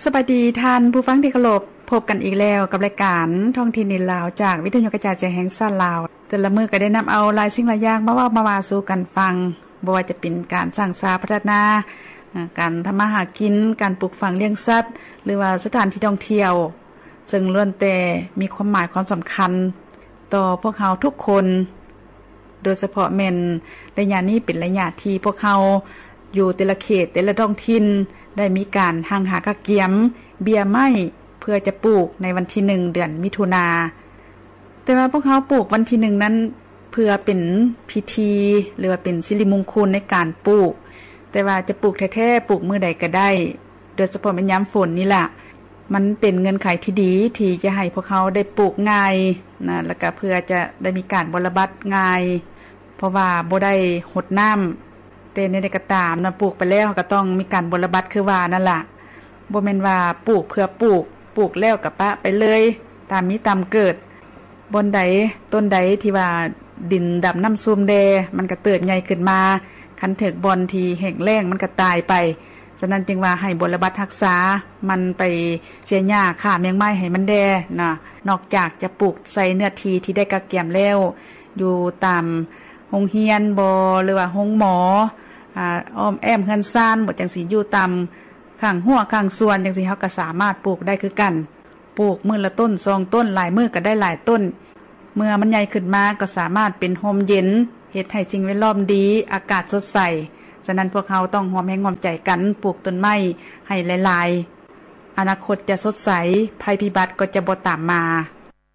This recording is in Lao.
ສະບາຍດີທ່ານຜູ້ຟັງທີ່ເຄົາລົບ, ພົບກັນອີກແລ້ວກັບລາຍການທ້ອງຖິ່ນດິນລາວ ຈາກວິທະຍຸກະຈາຍສຽງແຫ່ງຊາດລາວ. ແຕ່ລະມື້ກໍໄດ້ນຳເອົາຫຼາຍສິ່ງຫຼາຍຢ່າງມາເວົ້າມາວ່າສູ່ກັນຟັງ, ບໍ່ວ່າຈະເປັນການສ້າງສາພັດທະນາ, ການທຳມາຫາກິນ, ການປູກຝັງລ້ຽງສັດ ຫຼືວ່າສະຖານທີ່ທ່ອງທ່ຽວ, ເຊິ່ງລ້ວນແຕ່ມີຄວາມໝາຍຄວາມສຳຄັນຕໍ່ພວກເຮົາທຸກຄົນ. ໂດຍສະເພາະແມ່ນໄລຍະນີ້ເປັນໄລຍະທີ່ພວກເຮົາຢູ່ແຕ່ລະເຂດ, ແຕ່ລະທ້ອງຖິ່ນ ໄດ້ມີການຮັ່ງຫາກະກຽມເບ້ຍໄມ້ ເພື່ອຈະປູກໃນວັນທີໜຶ່ງ ເດືອນມິຖຸນາ. ແຕ່ວ່າພວກເຮົາປູກວັນທີໜຶ່ງນັ້ນ ເພື່ອເປັນພິທີ ຫຼືວ່າເປັນສິລິມຸງຄຸນໃນການປູກ, ແຕ່ວ່າຈະປູກແທ້ໆ ປູກມື້ໃດກໍໄດ້, ໂດຍສະເພາະແມ່ນຍາມຝົນນີ້ລະ ມັນເປັນເງື່ອນໄຂທີ່ດີທີ່ຈະໃຫ້ພວກເຮົາໄດ້ປູກງ່າຍນະ ແລ້ວກະເພື່ອຈະໄດ້ມີການບົວລະບັດງ່າຍ ເພາະວ່າບໍ່ໄດ້ຫົດນ້ຳ. ແຕ່ແນວໃດກໍຕາມນະ ປູກໄປແລ້ວເຮົາກໍຕ້ອງມີການບົວລະບັດຄືວ່ານັ້ນລະ, ບໍ່ແມ່ນວ່າປູກເພື່ອປູກ, ປູກແລ້ວກໍປະໄປເລີຍ ຕາມມີຕາມເກີດ. ບ່ອນໃດ ຕົ້ນໃດທີ່ວ່າດິນດຳນ້ຳຊຸ່ມແດ່ ມັນກໍເຕີບໃຫຍ່ຂຶ້ນມາ, ຄັນຖືກບ່ອນທີ່ແຫ້ງແລ້ງມັນກໍຕາຍໄປ. ສະນັ້ນຈຶ່ງວ່າໃຫ້ບົວລະບັດຮັກສາ ໝັ່ນໄປເສຍຫຍ້າຂ້າແມງໄມ້ໃຫ້ມັນແດ່ນະ. ນອກຈາກຈະປູກໃສ່ເນື້ອທີ່ທີ່ໄດ້ກະກຽມແລ້ວ ຢູ່ຕາມໂຮງຮຽນບໍ ຫຼືວ່າໂຮງໝໍ, ອາ ອ້ອມແອ້ມເຮືອນຊານບໍ ຈັ່ງຊີ້, ຢູ່ຕາມຂ້າງຮົ້ວຂ້າງສວນຈັ່ງຊີ້ ເຮົາກໍສາມາດປູກໄດ້ຄືກັນ. ປູກມື້ລະຕົ້ນສອງຕົ້ນ ຫຼາຍມື້ກໍໄດ້ຫຼາຍຕົ້ນ. ເມື່ອມັນໃຫຍ່ຂຶ້ນມາກໍສາມາດເປັນຮົ່ມເຢັນ, ເຮັດໃຫ້ສິ່ງແວດລ້ອມດີ, ອາກາດສົດໃສ. ສະນັ້ນພວກເຮົາຕ້ອງຮ່ວມແຮງຮ່ວມໃຈກັນປູກຕົ້ນໄມ້ໃຫ້ຫຼາຍໆ. ອະນາຄົດຈະສົດໃສ, ໄພພິບັດກໍຈະບໍ່ຕາມມາ.